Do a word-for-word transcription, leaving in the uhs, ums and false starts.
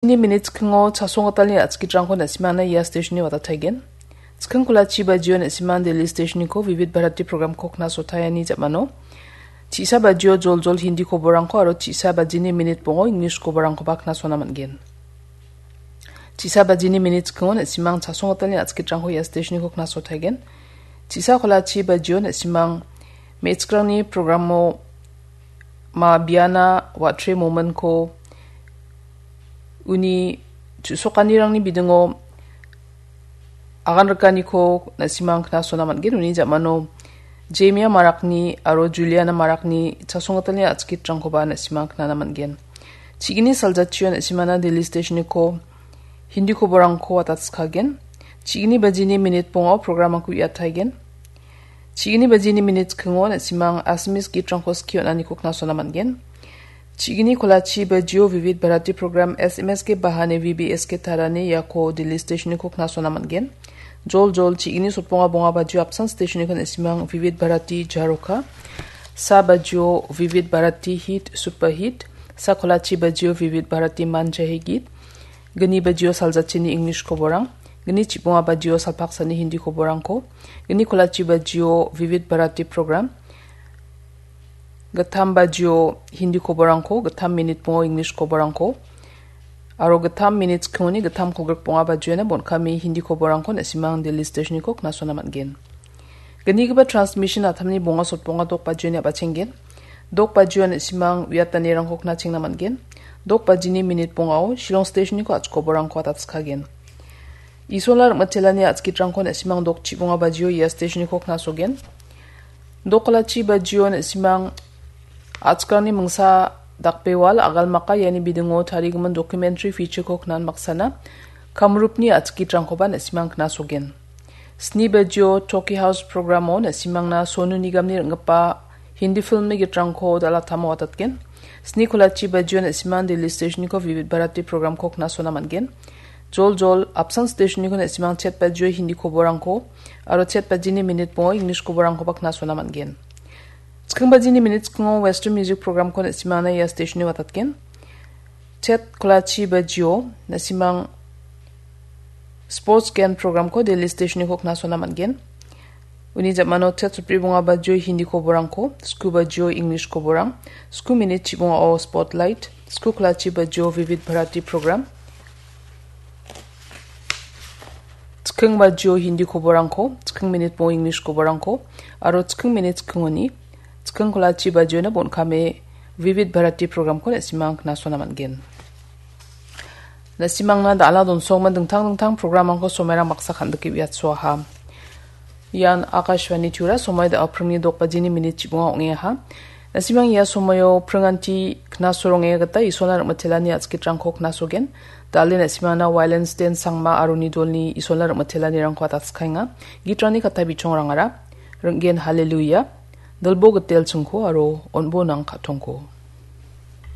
Ni minit skingo chasong gitalni a·chikitrangko na·simangna ia stationni watataigen. Chiking kolachi bajio na·simang Delhi stationniko Vivid Bharati programko knasotaiani jamano. Chisa bajio joljol Hindi koborangko aro chisa bajini minit bongo English koborangkoba knasona man·gen. Chisa bajini minit skingo na·simang chasong gitalni a·chikitrangko ia stationniko knasotaigen. Chisa kolachi bajio na·simang me·chikrangni programo ma biana wa·tre momentko uni chu·sokanirangni bidingo agan rikaniko na·simang knasona man·gen. Uni jamano Jemia Marakni aro Juliana Marakni chasong gitalni a·chikitrangkoba na·simang knana man·gen. Chigini saljachio na·simana Delhi stationniko Hindi koborangko watatskagen. Chigini bajini minit bongo programrangko uiataigen. Chigini bajini minit skingo na·simang Assamese gitrangko skie on·aniko knasona man·gen. Chigini kolachi bajio Vivid Bharati program S M S ke bahane V B S ke tarane iako Delhi stationniko knasona man·gen. Joljol chigini sotbonga bonga bajio apsan stationniko na·simang Vivid Bharati jaroka. Sa bajio Vivid Bharati hit superhit. Sa kolachi bajio Vivid Bharati manjahegit. Gni bajio saljachini English koborang. Gni chibonga bajio salpaksani Hindi koborangko. Gni kolachi bajio Vivid Bharati program. Gittam bajio Hindi koborangko, gittam minit bongo English koborangko. Aro gittam minit skingoni gittam kolgrik bonga bajiona bon·kame Hindi koborangko na·simang Delhi stationniko knasona man·gen. Gnigipa transmission atamni bonga sotbonga dok bajioni a·bachenggen. Dok bajio na·simang uiatanirangko knachengna man·gen. Dok bajini minit bongao Shillong stationniko a·chik koborangko watatskagen. Isola rim·itelani a·chikitrangko na·simang dok chibonga bajio ia stationniko knasogen. Dok kolachi bajio na·simang a·chikrangni mingsa dakbewal agalmaka iani bidingo tarigimin documentary featureko knan baksana Kamrupni a·chikitrangkoba na·simang knasogen. Sni bajio Toki House programo na·simangna Sonu Nigamni ring·gipa Hindi filmni gitrangko dal·atamo watatgen. Sni kolachi bajio na·simang Delhi stationniko Vivid Bharati programko knasona man·gen. Joljol apsan stationniko na·simang chet bajio Hindi koborangko aro chet bajini minit bongo English koborangkoba knasona man·gen. Chiking bajini minit skingo Western Music programko na·simangna ia stationni watatgen. Chet kolachi bajio na·simang Sports Gen programko Delhi stationniko knasona man·gen. Uni jamano chet sotbri bonga bajio Hindi koborangko, sku bajio English koborang, sku minit chibongao Spotlight, sku kolachi bajio Vivid Bharati program, chiking bajio Hindi koborangko, chiking minit bongo English koborangko, aro chiking minit skingoni chiking kolachi bajiona bon·kame Vivid Bharati programko na·simang knasona man·gen. Na·simangna dal·a donsonggimin dingtang dingtang programrangko somairang baksa kan·dike uiatsoaha. Ian Akashvani Tura, somoi da·o pringni dok bajini minit chibonga ong·eaha. Na·simang ia somoio pringanti knasoronge gita Isolna rim·itelani a·chikitrangko knasogen. Dal·e na·simangna Wailen Sten Sangma aro Nidolni Isolna rim·itelanirangko atatskaenga. Gitrangni katta bichongrangara, Ring·gen Haleluya, Dilbo Gitel Chingko aro On·bo Nang Ka·tongko.